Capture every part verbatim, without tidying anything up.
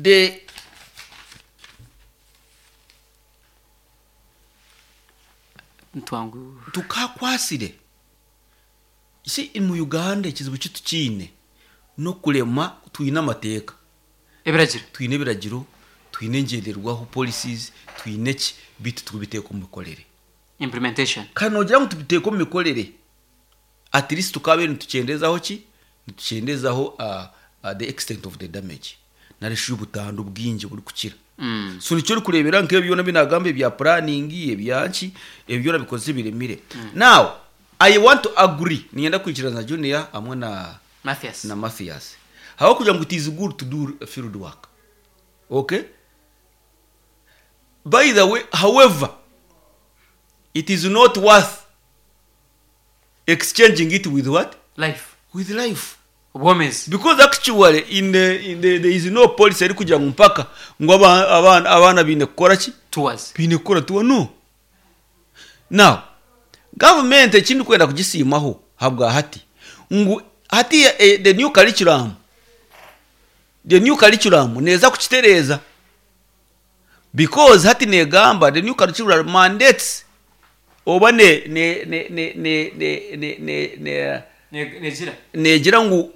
The Ntwangu. Tukakwasire si mu Uganda ekizibu kitu kiine n'okurema. Twine amateeka, ebiragiro, twine ebiragiro, twine engyenderwaho, policies, twine ki, bitu tubiteeka omu mikorere. Implementation. Kandi nogira ngu tubiteeka omu mikorere, at least tukabe nitukyendezaho ki, nitukyendezaho uh, uh, the extent of the damage nari shi obutandu bwingi burikukira. Mm. So nikyo orikureebera nk'ebyo byona binagamba, ebya planning, ebyanki, ebyo byona bikoze biremire. Now I want to agree, ninyenda kwikiriza na Junior hamwe na Mathias. Na Mathias aho kugira ngo it is good to do field work, okay? By the way, however, it is not worth exchanging it with what? Life. With life. Obwomezi. Because actually in the, in the, there is no policy eri kugira ngu mpaka ngu aba- abaana abaana biine kukora ki? Tours. Biine kukora tour. No. Now government ekindi kwenda kugisiimaho habwa hati ngu hati eh, the new curriculum the new curriculum neeza kukitereeza, because hati negamba the new curriculum mandates oba ne ne ne ne ne ne ne ne ne Ne- negira negira ngu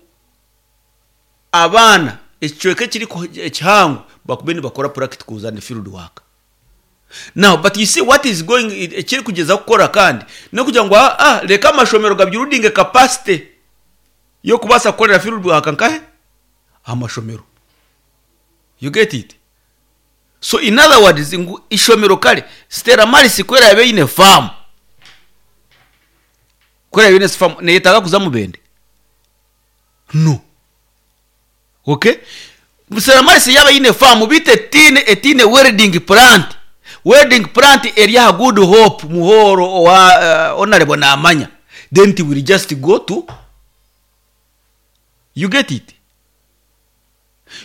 abaana ekicweka ekiri ku- ekihango bakube nibakora practicals and field work now. But you see what is going, ekiri kugeza kukora kandi nokugira ngu ah, ah, reka amashomero gabuilding capacity yokubaasa kukorera field work nkahe amashomero. You get it? So in other words, ngu ishomero kare Stella Maris kwera yabe ine farm, kwera yabe ine farm, neyetaaga kuza Mubende? No. Okay, Stella Maris yaba ine farm bite etine etine welding plant welding plant eri aha Good Hope Muhoro owa uh, honorable namanya, then it will just go to, you get it?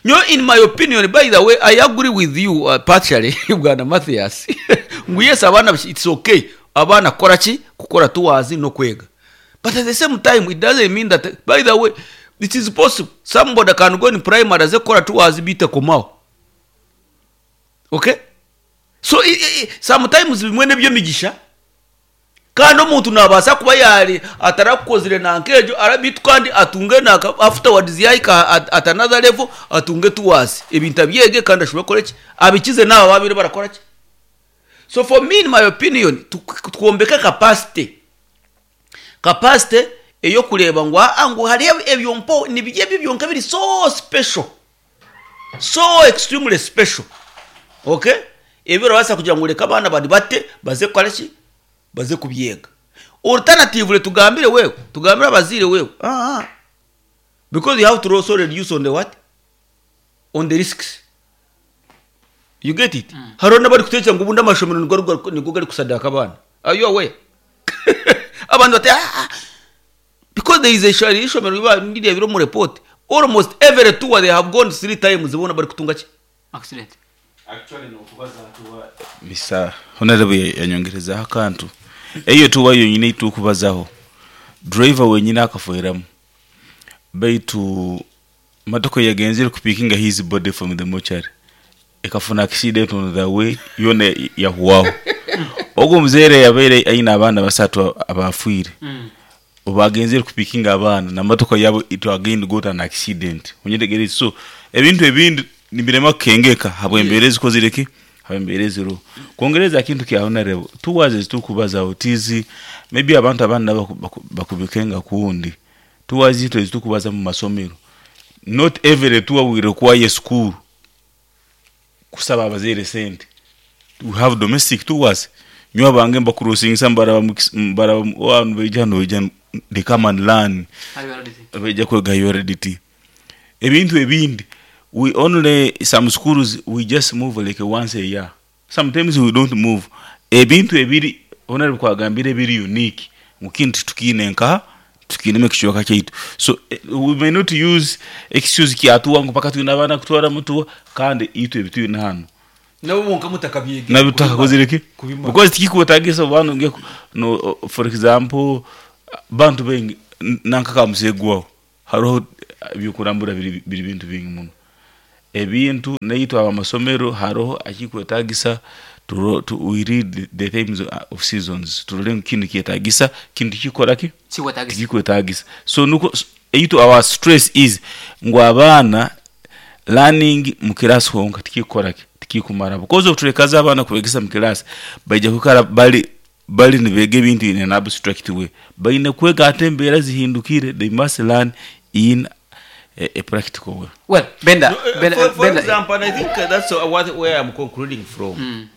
No, in my opinion, by the way, I agree with you uh, partially, bwana Mathias, ngu yes, abaana it's okay abaana kukora ki, kukora tours no kwega, but at the same time it doesn't mean that, by the way, it is possible somebody can go in primary aze kukora tours bite komaho. Okay, so i, i, sometimes bimwe nebyemigisha, kandi omuntu nabaasa kuba yari atarakukozire nankejo arabitu kandi atunge naka afterwards yahika at, at another level, atunge tours, ebintu abyege kandi ashobore kukora ki, abikize n'abo babiri barakora ki. So for me, in my opinion, tu- twombeke capacity capacity eyokureba ngu aa ngu hariho ebyo mpo nibyo ebyo byonka biri so special, so extremely special, okay? Ebyo urabaasa kugira ngu reka abaana bari bate baze kukora ki, baze kubyega. Alternatively, tugambire wewe, tugambire abaziire wewe, ah, ah. Because you have to also reduce on the what, on the risks. You get it? mm. Hariho n'abari kutekereza ngo ubundi amashomero nigo gari- nigo gari kusadaka abaana. Are you aware? Abantu bati ah, ah. Because there is a shari ishomero riba ndirebera mu report, almost every tour they have gone three times, bona bari kutunga ki? Accident. Actually nokubaza tour, Mister Honorable yanyongerezaho akantu. Eyo tour yonyine itukubazaho driver wenyine akafueramu, baitu motoka yagenzere kupickinga his body from the mortuary ekafuna accident on the way, yona yahuwaho. Ogwo muzeere yabaire aine abaana basatu abafiire. Mm. Obagenzere kupickinga abaana na motoka yabo, it again got an accident. Onyetegereze. So ebintu ebindi nibirema kukengeka habwembeera ezikozire ki, habwembeera eziriho. Kwongereza kintu kya honorable, tours ezitukubazaho tizi maybe abantu abandi nabo baku- bakubikenga kundi. Tours zito ezitukubaza mu masomero, not every tour will require school kusaba abazaire sente. We have domestic tours. Nyowe abange mbakurosingisa, mbaraba mu- mbaraba abantu baija hano, baija, they come and learn. I R D T. Baija kwega U R D T. Ebintu ebindi, we only, some schools we just move like once a year, sometimes we don't move. Ebintu ebiri honorable kwagambire ebiri unique ngu kintu tukiine nka tukiinemu ekicweka kyaitu. So eh, we may not use excuse kyatuwa ngu paka twine abaana kutwara mutuwa, kandi itwe ebitwine hano nabo bonka mutakabyege. Nabyo tutakakozire ki? Kubimara. Because tikikwetagisa bantu nge no, for example, bantu bengi nanka kamusegwaho hariho ebyokurambura biri biri bintu bingi muno. Ebintu naitwe abamasomero haroho akikwetagisa turo- tu, we read the themes of seasons, turole ngu kinu kyetagisa, kinu tikikora ki, Kikwetagisa. Tikikwetagisa. So nuko eitu our stress is ngu abaana learning mu class honka tikikora ki, tikikumara, because otulekaza abaana kubegesa mu class, baija kukara bali bali nibega ebintu in an abstract way. Baine kwega ate embeera zihindukire. They must learn in a, a practical way. Well, Benda, No, uh, Benda, for, for Benda, example, and I think uh, that's uh, what, where I'm concluding from.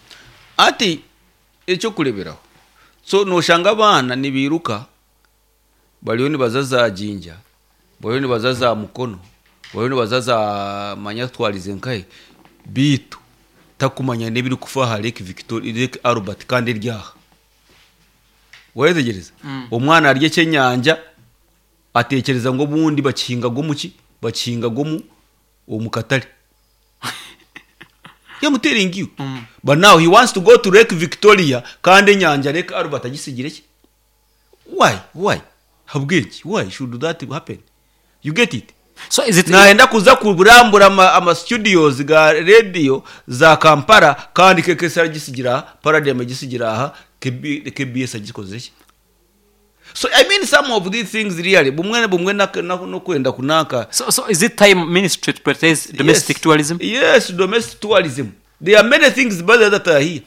Ati ekyokureberaho, so noshanga abaana nibiruka, bariyo nibaza za Jinja, bariyo nibaza za Mukono, bariyo nibaza za manya twarize nkahe, bitu takumanya n'ebiri kufa aha Lake Victoria, Lake Albert, kandi eryaha wetegereza. Omwana arya ekyenyanja, atekereza ngo obundi bakihingaga omuki, bakihingaga omu omu katare. I'm telling you. But now he wants to go to Lake Victoria, kandi enyanja Lake Albert agisigire ki? Why? Why? Habweki? Why should that happen? You get it? So is it Naenda kuza kurambura ama, ama studios ga radio za Kampala, kandi K K S agisigira aha, Paradigm agisigira aha, K B, K B S agikoze ki? So I mean, some of these things really, bumwe bumwe na, na, no kwenda kunaka. so, so is it time ministry to prioritize domestic Yes. tourism? Yes, domestic tourism. There are many things better that are here.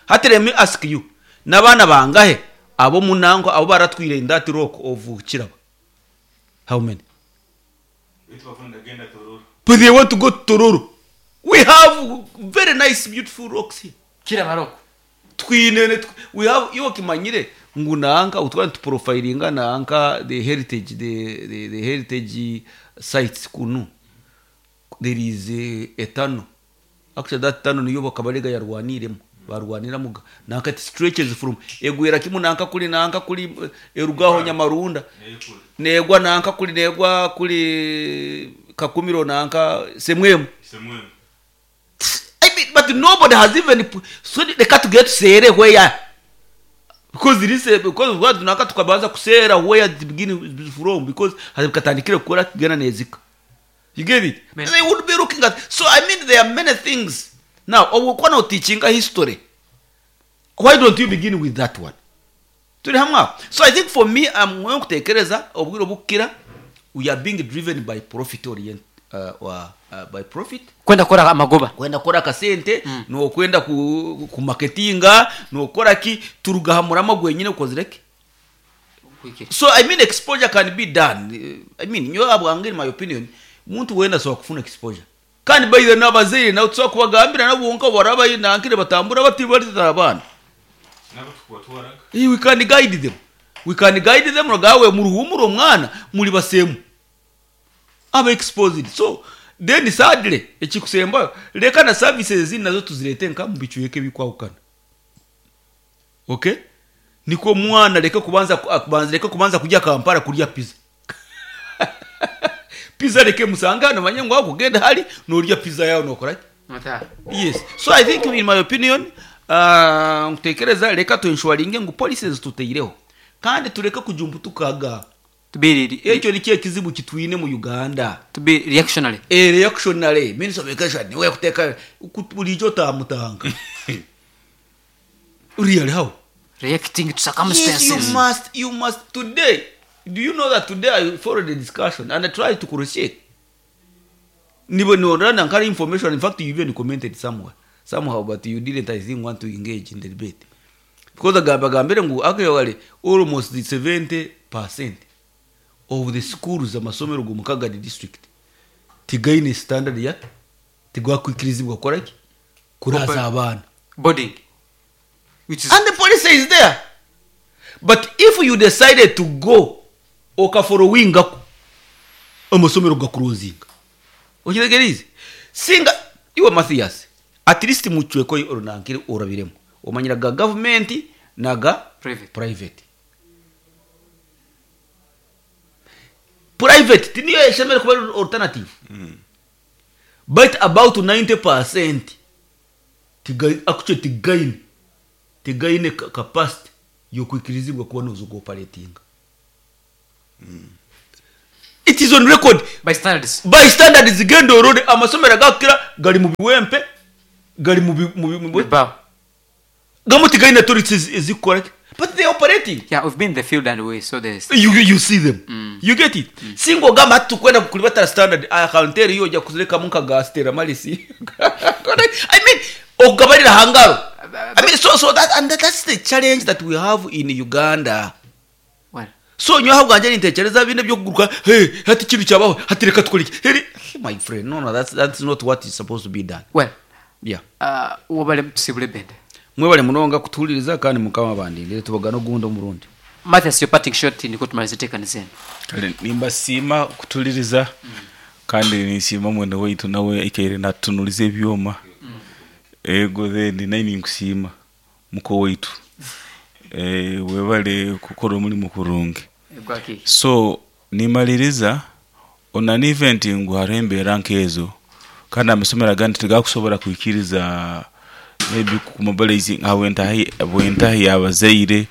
Hati let me ask you, n'abaana bangahe abo munango abo baratwire in that rock of Kiraba? How many? But they want to go to Tororo. We have very nice, beautiful rocks here. Kiraba Rock. Twine tw- we have, iyo kimanyire ngu nanka utwana tuprofilinga nanka the heritage, the, the, the heritage sites kunu, there is a, a tunnel. Actually, that tunnel niyo Bakabarega yarwaniremo, barwaniramuga nanka. It stretches from egwera kimu nanka kuli nanka kuli eh, erugaho Nyamarunda, negwa nanka kuli, negwa kuli Kakumiro, nanka Semwemu. I mean, but nobody has even pu- so reka tugere tusere where, because this because what tunaka tukabanza kusera where it begin from, because hazikatandikire kukora kugena nezika. You get it? Man. They would be looking at. So I mean, there are many things. Now obukwana teaching history, why don't you begin with that one? Turi hamwe aho. So I think for me, I'm going kutekereza obwire bukira we are being driven by profit orient uh, uh, uh, by profit. Kwenda kora amagoba. Kwenda kora akasente mm. Nokwenda ku, ku marketinga, nokora ki, turugahamuramo gwenyine ukozireke. So I mean, exposure can be done. Eh, I mean, nyo abwange, in my opinion, muntu wenda so kufuna exposure, kandi by the n'abazeire nawe tusobola kubagambira nabo bonka baraba nankire batambura bati bari abana. Eh, we can guide them, we can guide them. Ragawe muruhumuro omwana muri basemu aba exposed. So then sadly, ekikusembayo, leka na services ezindi nazo tuzirete nka mu bicweka ebikwahukana, okay? Niko mwana leka kubanza kubanza leka kubanza kujya Kampala kurya pizza. Pizza leke musanga hano, manye ngo kugenda hari norya pizza yawe nokora ki? Yes, so I think, in my opinion, uh, nkutekereza reka tuenshuringe ngu policies tuteireho, kandi tureke kujumpa tukaga. To be re- Ekyo nikyo ekizibu kitwine mu Uganda. To be reactionary. A reactionary minister of education niwe kuteka bulijjo tamutanga. Really, how? Reacting to Yes, you circumstances. must, you must. Today, do you know that today I followed the discussion and I tried to crochet nibo niorana nkari information. In fact, you even commented somewhere somehow, but you didn't, I think, want to engage in the debate, because agamba gambire ngu actually almost the seventy percent of the schools, amasomero go Mukagadi district, tigaine standard ya tigwakwikirizibwa kora ki, kuraza abaana. Boarding, which is And the policy is there, but if you decided to go okafollowingako, amasomero gakurozinga. Okitegereize? Singa iwe Mathias, at least mucweko orunankire orabiremu, omanyira ga gavumenti naga Private. Private, private tiniyo eshemere kuba alternative, but about ninety percent tiga actually tigaine tigaine ka- capacity yokwikirizibwa kuba noza operatinga. It is on record. By standards. By standards, genda orore amasomero agakukira gari mu biwempe, gari mu bi- mu bi- mu bi- Bibaho. Gamwe tigaine toilets ezikukora ki, but they are operating. Yeah, we've been in the field and we saw this. you, you see them mm. You get it mm. Singo gamba hati tukwenda kulibatara standard akanteri yo ojya kuzirekamu nka gastera malisi. I mean, okugabarira hangaro. I mean, so so that and that, that's the challenge that we have in Uganda. Well, so nyowe bwanje nintekereza bine byo kuguruka, hey, hati ikintu cyabaho, hati reka tukore iki. Hey, my friend, no no that's that's not what is supposed to be done. Well, yeah. uh, wabale tusibule bende. Mwebale munonga kutuhuliriza kandi mukama bandindire tubagana ogundi omurundi. Mathias, your parting shot niko tumalize tekaniza eno. Kale nimbasiima kutuliriza kandi ninsiima mwene waitu nawe aikaire natunuliza ebyoma ego. Then naye ninkusiima muko waitu, eh, webale kukora omulimu kurungi. Gwaki. So nimaliriza on an event ngu hariho embeera nkezo kandi amasomero agandi tigakusobola kwikiriza maybe kumobilizing habwentahi bwentahi yabazaire.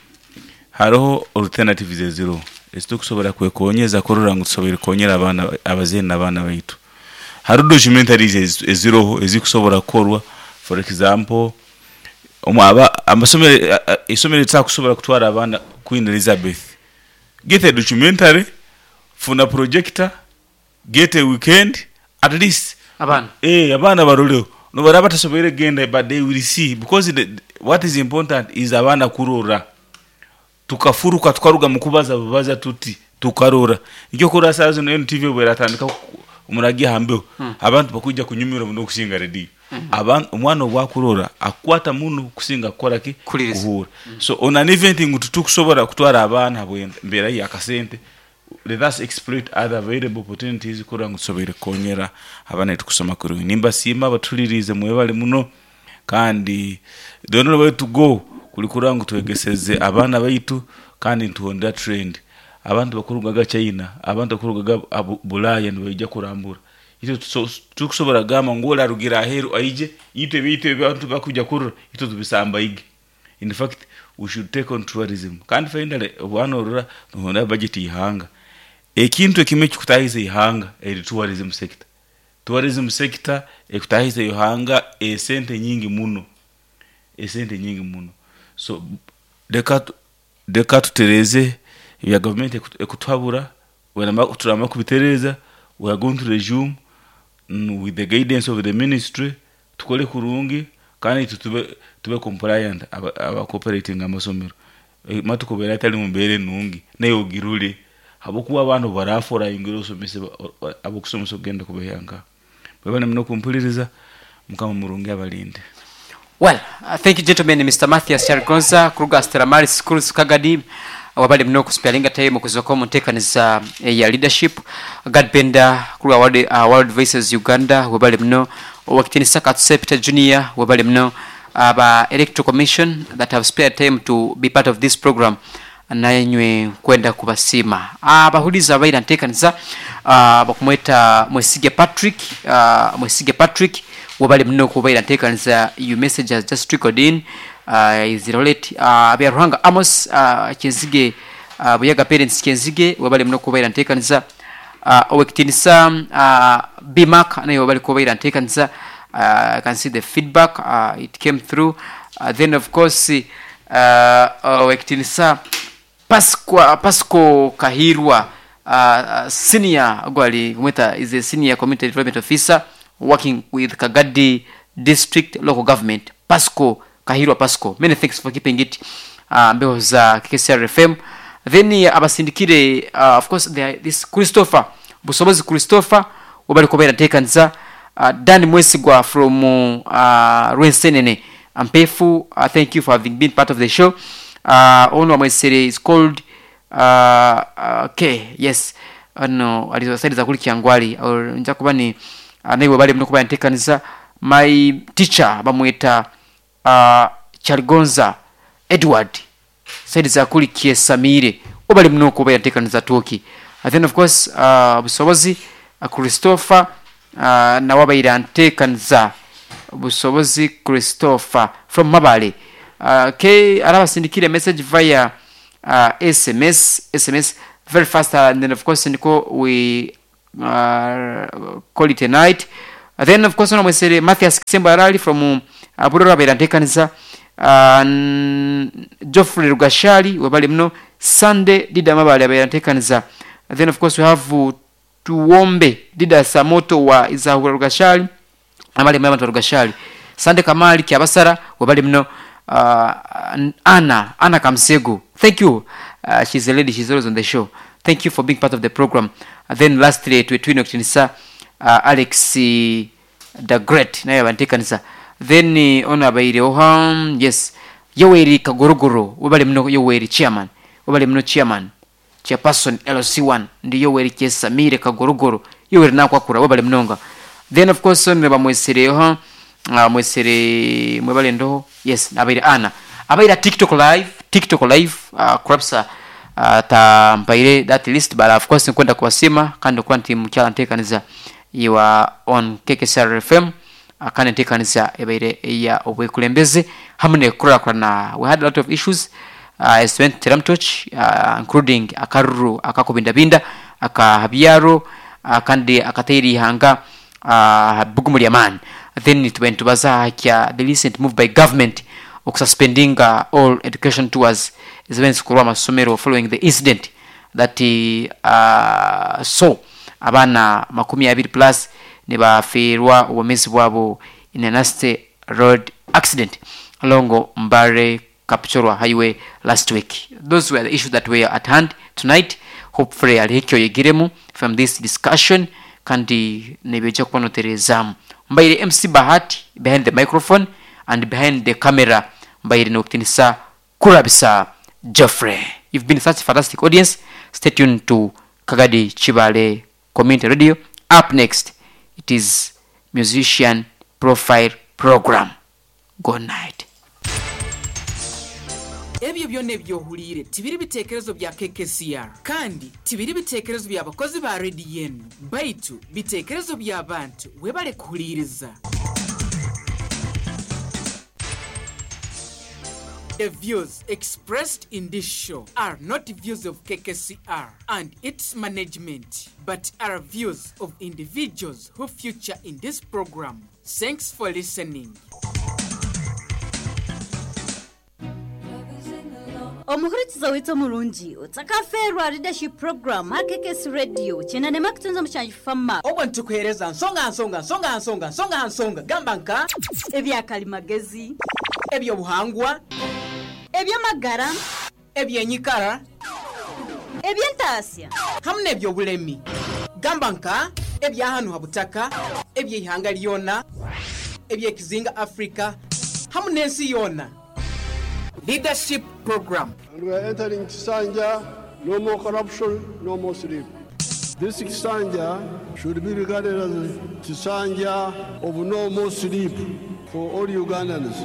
Hariho alternatives eziriho ezitukusobola kwekonyeza kurora ngu tusoboire kukonyera abaana, abazaire n'abaana baitu. Hariho documentaries ezi- eziriho ezikusobola kukorwa. For example, omu aba amasomero, a- a- isomero litakusobola kutwara abaana Queen Elizabeth, get a documentary, funa projector, get a weekend at least. Abaana. Eh, abaana baroleho nobaraba batasoboire kugenda, but they will see, because the, what is important is abaana kurora. Tukafuruka tukaruga mu kubaza bubaza tuti tukarora nikyo kurora. Saa zino N T V bweratandika omuragi hambeho abantu bakujja kunyumirwa muno okusinga rediyo. Abantu, omwana obwakurora akwata muno kusinga kukora ki? Kuhuliriza. Kuhura. So on an event ngu tutukusobola kutwara abaana habwembeera yakasente, let us exploit other available opportunities kurora ngu tusoboire kukonyera abaana baitu kusoma kurungi. Nimbasiima abatuliriize, mwebale muno. Kandi the only way to go kuli kurora ngu twegeseze abaana baitu kandi nituhondera trend. Abantu bakurugaga China, abantu bakurugaga abu- Bulaya nibaija kurambura itwe. tuso- tukusobola kugamba ngu ole arugira aheru aije itwe ebintu abantu bakuja kurora itwe tubisambaige. In fact, we should take on tourism. Kandi finally, obwana orora nohonda budget ihanga, ekintu ekimwe kikutahiza ihanga eri tourism sector. Tourism sector ekutahiza ihanga esente nyingi muno, esente nyingi muno. So leka tu- leka tutereze ebya gavumenti eku- ekutuhabura. Werama- turama kubitereza, we are going to resume mm, with the guidance of the ministry. Tukole kurungi kandi itwe tube, tube compliant aba, aba cooperating amasomero. Eh, matukubera atali mumbeera enungi naye ogirule habwokuba abantu barafora ingira osomese abokusomesa okugenda kubehanga. Mwebale muno kumpuliriza. Mukama murungi abalinde. Well, uh, thank you, gentlemen. Mister Mathias Kyaligonza kuruga Stella Maris Schools Kagadi, wabali muno kusparinga time okuzoka mu nteekaniza ya leadership. Gad Benda kuruga World, uh, World Voices Uganda, wabali muno. Owakitinisa Katuse Peter Junior, wabali muno. Aba Electoral Commission that have spared time to be part of this program, nanywe kwenda kubasiima. Abahuliza abaira nteekaniza, uh, bakumweta Mwesige Patrick, uh, Mwesige Patrick, wabali muno kubaira nteekaniza. Your message has just trickled in, uh, is relate uh, Byaruhanga Amos, uh, Kyenzige, uh, Buyaga parents Kyenzige, wabali muno kubaira nteekaniza. uh, owekitinisa uh, Bimak naye wabali kubaira nteekaniza. uh, I can see the feedback, uh, it came through. uh, then of course, uh, owekitinisa Pasqua, Pasco Kahirwa, uh, uh, senior gwali kumweta is a senior community development officer working with Kagadi District Local Government. Pasco Kahirwa Pasco, many thanks for keeping it uh, mbeho za K K C R F M. Then uh, abasindikire, uh, of course there, this Christopher Busobozi Christopher, wabali kubeera nteekaniza. uh, Dan Mwesigwa from uh, Rwensenene Ampefu, uh, thank you for having been part of the show. uh, ono wamwesere is called, uh, okay, yes, ano alizosaidiza kuli Kyangwali nja kuba ni uh, naye webali muno kuba nteekaniza. My teacher bamweta uh, Kyaligonza Edward, saidiza kuli Kyesamire, obali muno kuba yateekaniza toki. And then of course, uh, Busobozi uh, Christopher, uh, nawe abaire nteekaniza. Busobozi Christopher from Mabale. uh, ke arabasindikire message via uh, S M S S M S. Very fast, uh, and then of course niko we uh, call it a night. Uh, then of course ono mwesere Mathias Kisembo Arali from uh, Burora abaire nteekaniza, uh, n- Geoffrey Rugashali webale muno, Sunday Dida Mabale abaire nteekaniza. Then of course we have uh, Tuwombe Dida Samoto wa Izahura Rugashali, abali mu abantu Rugashali, Sande Kamali Kyabasara webale muno, uh, Anna Anna Kamsego, thank you, uh, she's a lady, she's always on the show, thank you for being part of the program. Uh, then lastly twetwine okutinisa uh, Alex uh, the Great naye abanteekanisa. Then uh, ono abaire oha, yes, Yoweri Kagorogoro webale muno, Yoweri chairman webale muno, chairman chairperson L C one ndi Yoweri Kyesamire Kagorogoro, Yoweri nakwakura webale munonga. Then of course ono bamwesereho, uh, mwesere mwebale ndoho, yes, abaire ana abaire TikTok live, TikTok live, uh, kurapsa uh, tampaire that list, but of course nkwenda kubasima kandi okuba nti mukyala nteekaniza iwa on K K S R F M, uh, kandi nteekaniza ebaire eya obwekulembeze hamwe nekukurakurana. We had a lot of issues uh, as went teramtoch, uh, including akaruru akakubindabinda akahabyaro, uh, kandi akateire ihanga uh, bugumu lyamaani. Then tubaire nitubaza kya the recent move by government okususpending uh, all education tours ezibaire nizikorwa amasomero following the incident that uh, saw abaana makumi abiri plus nibafiirwa obwomeezi bwabo in a nasty road accident along Mbare Kapchorwa Highway last week. Those were the issues that were at hand tonight. Hopefully alihikyo yegiremu from this discussion kandi nibijja kubanoterezaamu. Mbaire M C Bahati behind the microphone, and behind the camera mbaire nokutinisa Kurabisa Geoffrey. You've been such a fantastic audience. Stay tuned to Kagadi Chibale Community Radio. Up next, it is Musician Profile Program. Good night. Ebyo byonna ebyohuliire tibiri biteekerezo bya K K C R, kandi tibiri biteekerezo by'abakozi ba rediyo enu, baitu biteekerezo by'abantu. Webale kuhuliiriza. The views expressed in this show are not views of K K C R and its management, but are views of individuals who feature in this program. Thanks for listening. Omuhurikiza withu omurungi otsakaferwa leadership program ha K K S Radio kinanema kutunza mushanju fama. Obwo nitukuheereza nsonga nsonga nsonga nsonga nsonga nsonga gamba nka ebyakalimagezi, ebyobuhangwa, ebyamagara, ebyenyikara, ebyentasya hamwe n'ebyobulemi gamba nka ebyahanu ha butaka, ebyeihanga lyona, ebyekizinga Afrika hamwe n'ensi yona. Leadership Program. And we are entering Kisanja, no more corruption, no more sleep. This Kisanja should be regarded as Kisanja of no more sleep for all Ugandans.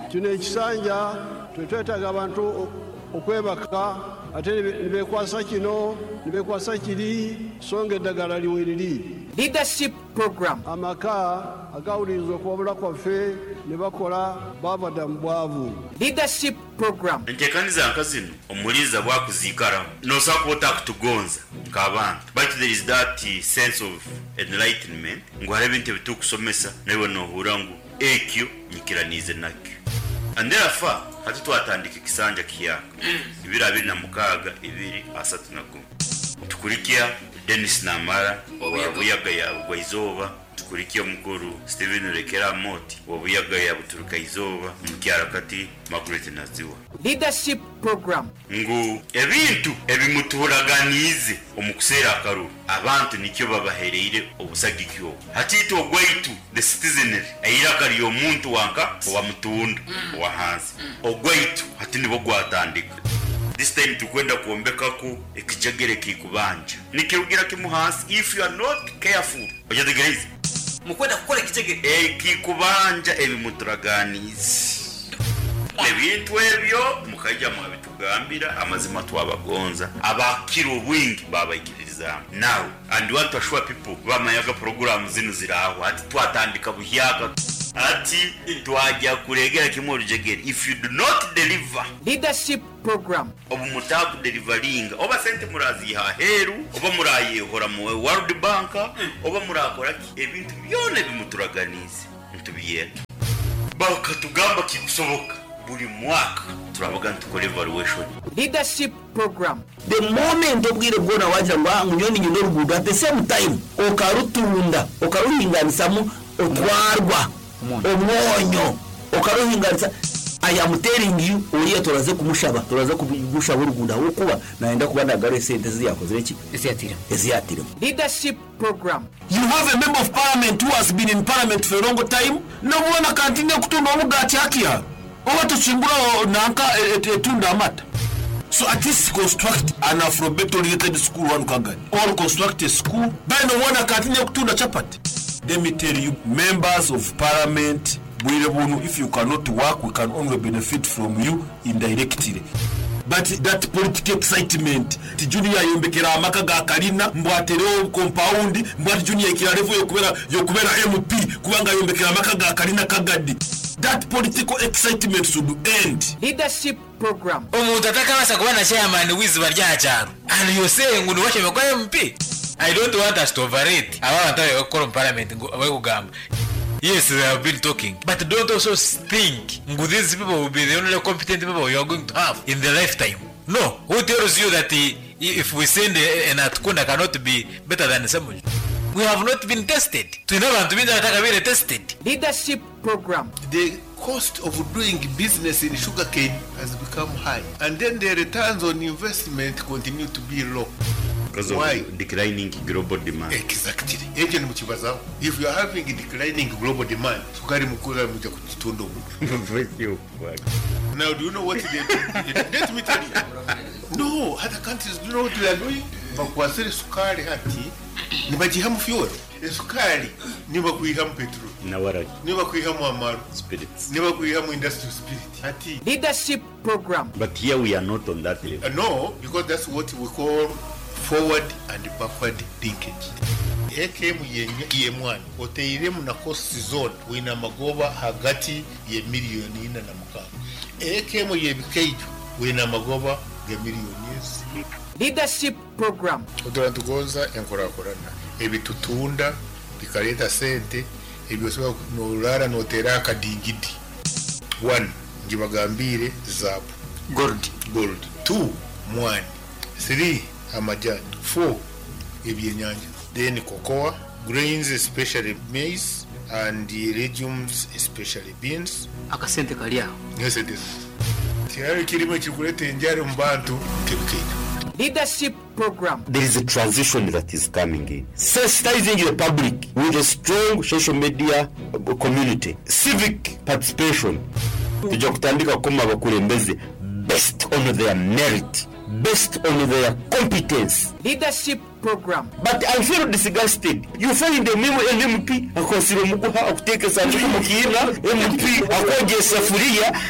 Kino ekisanja tetwetaaga abantu o- okwebaka ate ne be- ne beekwasa kino ne beekwasa kiri so nga eddagala liweriri. Leadership Program. Amaka agawuliriza okuwabula kwaffe ne bakola baava dda mu bwavu. Leadership Program. Enteekaniza nka zino omuliza bwakuziikaraho nosobola kuba otakutugonza nk'abantu, but there is that sense of enlightenment ngu hariho ebintu ebitukusomesa naiwe nohura ngu ekyo nyikiraniize nakyo. And therefore hati twatandika ekisanja kiyaka ibiri abiri na mukaaga ibiri asatu na gumu, tukurikya Denis Namara wa Buyaga ya Bugwaizooba, tukurikya omukuru Steven Rekera Moti wa Buyaga ya Buturuka Izooba, mukyara kati Margaret Naziwa. Leadership Program. Ngu ebintu ebimuturaganiize omu kuseera akaruru abantu nikyo babahereire obusagiki obwo. Hatiita ogwaitu the citizenry eiraka ly'omuntu wanka owamutunda owa hansi ogwaitu hati nibwo gwatandika. This time tukwenda kwombekaku ekijegere kikubanja nikirugira kimu hansi if you are not careful. Ojategereze. Mukwenda kukora ekijegere. Ekikubanja ebimuturaganiize ebintu ebyo mukaija mwabitugambira amazima twabagonza abakira obwingi babaikiririzaamu. Now and want to assure people bamayaga program zino ziraho hati twatandika buhyaka. Ati twajja kuregera kimwe olujegere if you do not deliver. Leadership Program. Obu mutaakudelivaringa oba sente muraziiha aheeru oba murayehora mu World Bank oba murakora ki, ebintu byona ebimuturaganiize nitubyenda. Bakatugamba kikusoboka buri mwaka turabaga nitukora evaluation. Leadership Program. The moment obwire bwona wagira ngu ah ngunyoni nyine oruguudo, at the same time okarutunda okaruhinganisamu otwarwa omwonyo okaruhinganisa. I am telling you, oriya turaze kumushaba, turaze kumushaba oruguudo ahabw'okuba nayenda kuba nagaruha esente ezi yakozire ki eziyatiremu. Leadership Program. You have a member of parliament who has been in parliament for a long time, nobona kantine kutunda omugati hakia oba tukimbura nanka etunda amata. So at least construct an alphabet oriented school one Kagadi, or construct a school then obona kantine kutunda chapati. Let me tell you, members of parliament, bwire bunu, if you cannot work, we can only benefit from you indirectly. But that political excitement, ti Junior yombekera amaka ga kalina, mbwaterewo compound, mbwati Junior ikira level yokubera yokubera M P kubanga yombekera amaka ga kalina Kagadi. That political excitement should end. Leadership Program. Omuntu atakabasa kuba na chairman w'iziba rya kyaro and you say ngu niwashembe kwa M P. I don't want us to overrate aba bantu abari gukora mu parliament ngo bari kugamba. Yes, they have been talking, but don't also think ngu these people will be the only competent people you are going to have in the lifetime. No. Who tells you that he, if we send an Atukunda cannot be better than Ssemujju? We have not been tested. Twine abantu bingi abatakabire tested. Leadership Program. The cost of doing business in sugarcane has become high, and then the returns on investment continue to be low. Because of Why? Declining global demand. Exactly. Ekyo nimukibazaho. If you are having declining global demand, sukari mukura muja kutunda omu. Now, do you know what they do? Let me tell you. No, other countries, do you know what they are doing? Bakwasire sukari hati nibagihamu fuel. Esukari nibakwihamu petrol. Nawaragi. Nibakwihamu amaru. Spirits. Nibakwihamu industrial spirit. Hati. Leadership Program. But here we are not on that level. Uh, no, because that's what we call forward and backward linkage. A K M yemwana oteiremu na cost zone wina magoba hagati ye miliyoni ina na mukaaga. A K M yebikaijo wina magoba ga miliyoni ezi. Leadership Program. Oturantugonza enkurakurana ebitutunda bikaleta sente ebyosobola norara notera akadingidi. One, ngibagambire zaabu, gold. Gold. Two, mwani. Three, amajani. Four, ebyenyanja. Then cocoa, grains, especially maize, and the legumes, especially beans. Akasente kali aho. Yes, it is. Tihari kirimo ekikuleta enjara mu bantu kebikaito. Leadership Program. There is a transition that is coming in. Sensitizing the public with a strong social media community, civic participation. Tujja kutandika kukoma abakulembeze based on their merit, based on their competence. Leadership Program. But I feel disgusted. You find a memo an M P akwasira omuguha akuteeka esanduku mu kiina, M P akwogya esafuriya,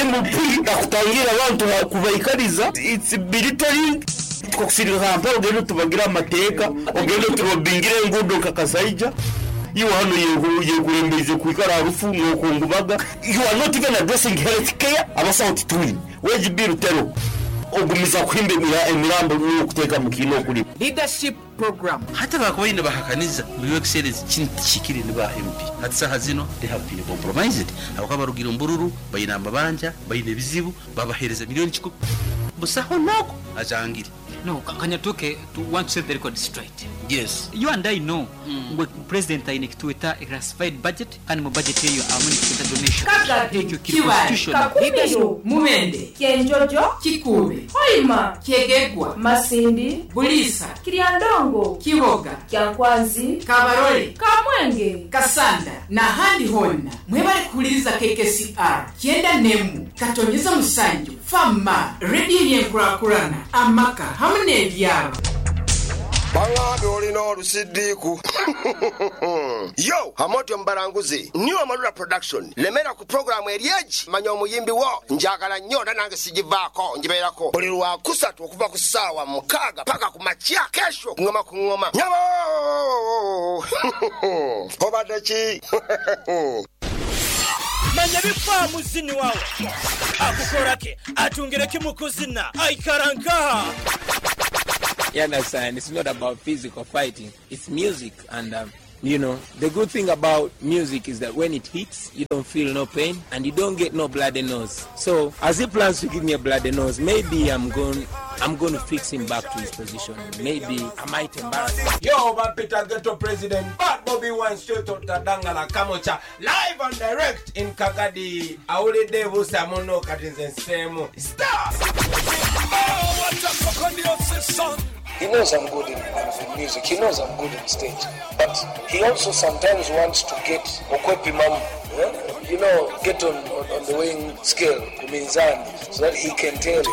M P akutangira abantu kubaikariza. It's belittling. Twakusirika Kampala ogende tubagire amateeka, ogende turobingire enguudo nka Kasaija. Iwe hano yekurembeize kwikara harufu nokungubaga. You are not even addressing health care. Abasawo titwine wage bill tero ogumiza kuhimba emira- emirambo n'okuteeka mu kiina okuli. Leadership Program. Hata bakubaine bahakaniza ngu your excellence kinu tikikire ni ba M P. Hati saha zino they have been compromised habwokuba barugire ombururu baine amabanja baine ebizibu babahereza miliyoni kikumi busaho nako ajangire. No, Kanyatuke, to want to set the record straight. Yes. You and I know mm. President aine ekituweta classified budget kandi mu budget eyo amu nekituweta donation. Kagadi, Ekyo kiri Kibaale, constitutional. Kakumiro, Mubende, Kyenjojo, Kikuube, Hoima, Kyegegwa, Masindi, Buliisa, Kiryandongo, Kiboga, Kyankwanzi, Kabarole, Kamwenge, Kasanda n'ahandi honna mwebale kuwuliriza K K C R kyenda nemu katonyeza musanju fama rediyo y'enkulakulana amaka hamu n'ebyalo. Baŋŋambye olina olusidiiku yo amotyo mubalanguzi new Amalula Production lemera ku puroguramu eri egi manya omuyimbi wo njagala nnyo era nange sigivaako ngibeerako buli lwakusatu okuva ku ssaawa mukaaga paka ku makya kesho kuŋoma ku ŋŋoma nyabo obadde ki. Manya bikwa muzini wawe akukorake atungire kimukuzina aikara nkaha. You understand? It's not about physical fighting. It's music. And, um, you know, the good thing about music is that when it hits, you don't feel no pain and you don't get no bloody nose. So, as he plans to give me a bloody nose, maybe I'm going, I'm going to fix him back to his position. Maybe I might embarrass him. Yo, Peter Ghetto President, Bad Bobby Wine straight out Dangala Kamocha, live and direct in Kagadi. Awulidde busa muno kati nze nseemu. Stop! Oh, what a fucking son. He knows I'm good in, in music. He knows I'm good in stage. But he also sometimes wants to get okwepimam, yeah? you know, get on, on, on the weighing scale, kuminzani, so that he can tell.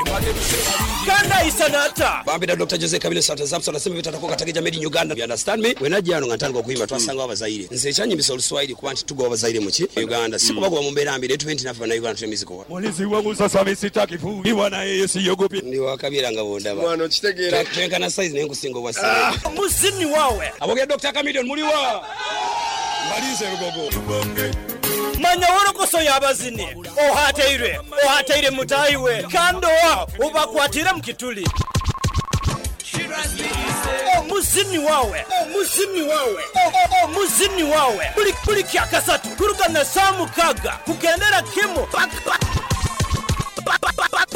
Kanda isanata. Bambira Doctor Jose Kabile Santa Zapson asema bitatakuwa katika made in Uganda. You understand me? Wenajja ano nga ntandika okuyimba twasanga abazaire. Nze ekyanyimbisa Oluswahili kuba nti tugoba abazaire mu ki? Uganda. Si kubagoba mu mbeera mbi, tube nti naffe bannayuganda tuli music wa. Mulezi wangu sasa mimi sitaki kuliwa na yeye siogopi. Ndi wakabira nga bondaba. Mwana okitegeera. Twenkana size naye nkusinga obwa size. Muzini wawe. Aboge Doctor Chameleone muliwa. Malize rugogo. Manya worokoso y'abazini ohateire ohateire mutayiwe kandowa ubakwatire mukituli omuzini wawe omuzini wawe omuzini wawe buli buli kyakasatu kuruka na saa mukaga kugendera kimu paka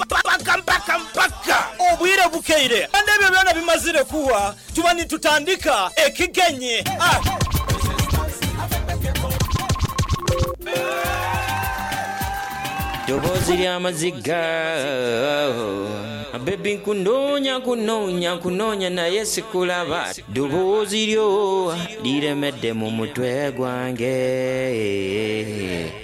mpaka mpaka mpaka obwire bukeire kandi ebyo byona bimazire kuwa tuba nitutandika ekigenyi ah. Ddoboozi ly'amaziga bebi nkunoonya nkunoonya nkunoonya naye sikulaba ddoboozi lyo liremedde mu mutwe gwange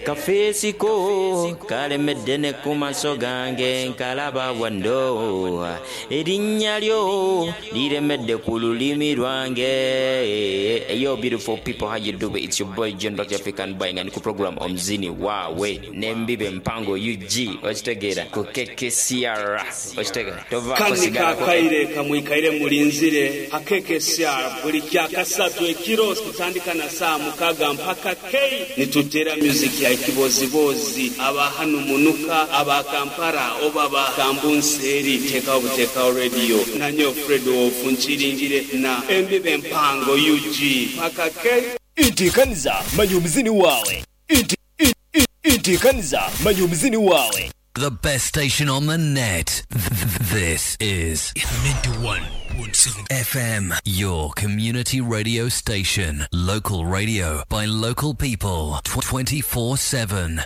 kafeesiko kalemedde ne ku maaso gange nkalaba wano erinnya lyo liremedde ku lulimi lwange. Yo beautiful people, how you do it? It's your boy John Doctor African Boy nga ndi ku program Omuzini Wawe n'Embibe Mpango U G okitegeera ku K K C R okitegeera tovaako kani sigalako kakaire kamwikaire mulinzire ha K K C R buli kyakasatu ekiro kutandika na saa mukaga mpaka K nitutera music ya kibozibozi aba hano munuka aba Kampala oba ba Kambunseeri tekawo butekawo radio nanyo Fred Wolf nkiringire na Embibe Mpango U G mpaka K. Intikaniza manya omuzini wawe Inti, in, intikaniza manya omuzini wawe. The best station on the net. This is ninety-one point seven F M, your community radio station. Local radio by local people twenty-four seven.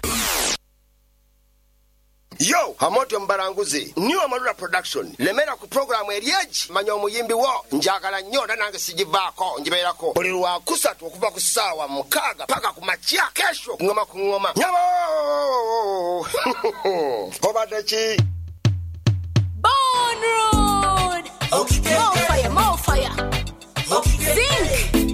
Yo, Hamotyo Mbaranguzi, New Amarula Production, lemera ku programu eryeji, manya omuyimbi wo, njagala nnyo era nange sigivaako, ngibeerako. Buli lwa kusatu okuva ku ssaawa mukaaga paka ku makya, kesho, ngoma ku ngoma. Nyabo! Obadde ki? Bone Road! More fire, more fire. Zinc!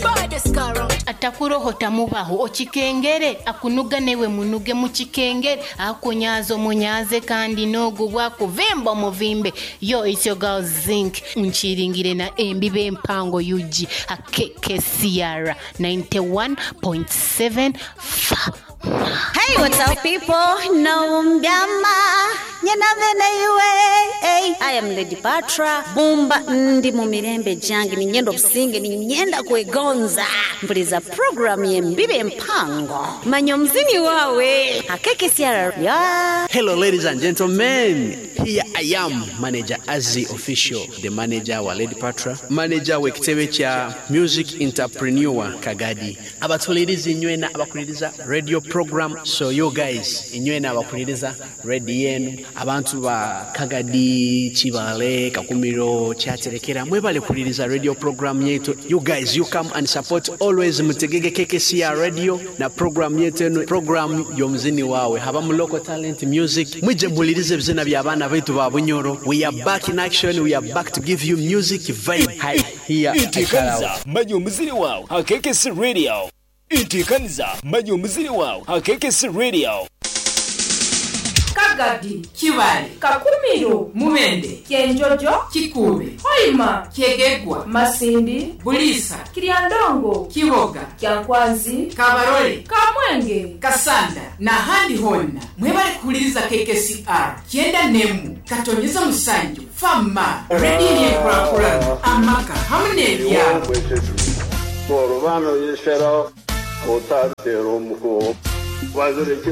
Baddest car around. Atakurohota mubaho okikengere akunuga newe munuge mu kikengere akunyaza omunyaze kandi n'ogubwa kuvimba omuvimbe. Yo, it's your girl Zinc nkiringire na Embibe Mpango U G a K K C R ninety-one point seven F. Hey, what's up people? Nombyama nyena vene iwe. Hey, I am Lady Patra Bumba ndi mu mirembe jange ni nyendo businge ni nyenda kwegonza mpuliza program ye Mbibe Mpango manyo mzini wawe akeke siara ya. Hello ladies and gentlemen, here I am manager Azzy Official, the manager wa Lady Patra, manager w'ekitebe kya music entrepreneur Kagadi abatuliriza inywena abakuliriza radio program. So you guys inywena abakuliriza radio yenu abantu ba Kagadi Kibale Kakumiro Kyaterekera mwebale kuliriza radio program yetu. You guys, you come and support always mutegege K K C R radio na program yetu eno program y'omuzini wawe haba mu local talent music mwije mulirize ebizina by'abaana baitu ba Bunyoro. We are back in action, we are back to give you music vibe. Hi, here Intikaniza manya omuzini wawe ha K K C Radio. Intikaniza manya omuzini wawe ha K K C Radio. Kagadi, Kibale, Kakumiro, Mubende, Kyenjojo, Kikuube, Hoima, Kyegegwa, Masindi, Buliisa, Kiryandongo, Kiboga, Kyankwanzi, Kabarole, Kamwenge, Kasanda n'ahandi honna mwebale kuwuliriza K K C R kyenda nemu katonyeza musanju fama rediyo y'enkulakulana amaka hamu n'ebyalo. Olubano yisero otatera omuko bazireke.